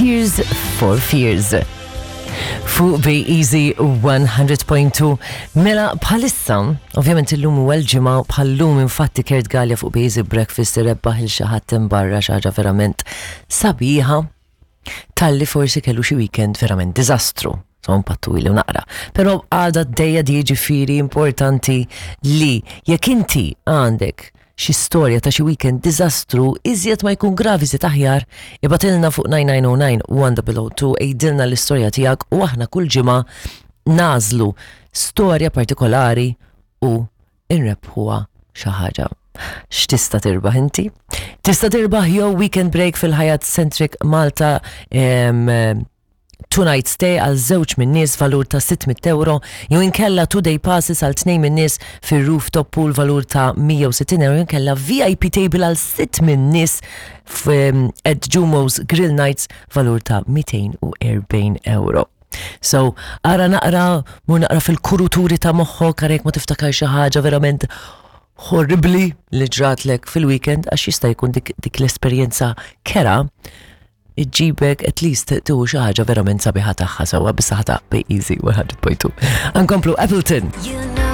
Tears for Fears. Fuq Bay Easy 100.2. Mela bħalissa, ovvjament illum huwa l-ġimgħa bħallum infatti Kurt Gallia fuq Bay Easy Breakfast irebbaħ il xi ħadd barra xi ħaġa verament sabiħa talli forsi kellu xi weekend verament diżastru. So impattu ili naqra. Però għada d-dejja di ġifiri importanti li jekk inti għandek xi storja ta' xi weekend diżastru iżjed ma jkun gravi iżjed aħjar, ibgħatilna fuq 9909 1002 għidilna l-istorja tiegħek u aħna kull ġimgħa nagħżlu storja partikolari u nrebbħuha xi ħaġa. X'tista' tirbaħ inti? Tista' tirbaħ jew weekend break fil-Hyatt Centric Malta em, two night stay għal żewġ minn nies valur ta' 600 euro, jew inkella two day passes għal tnejn minn nies fir-rooftop pool valur ta' 160 euro, jew inkella VIP table għal sitt minn nies at Jumo's Grill Nights valur ta' 240 euro. So, ara naqra, mur naqra fil-kuruturi ta' moħħok, ara jekk ma tiftakar xi ħaġa verament horribli li ġratlek fil-weekend, għax jista' jkun dik, dik l-esperjenza kera iġġibek at least tieħu xi ħaġa verament sabiħa tagħha sewwa bis-saħħa ta' Bay Easy 100.2. Ankomplu Appleton. You know.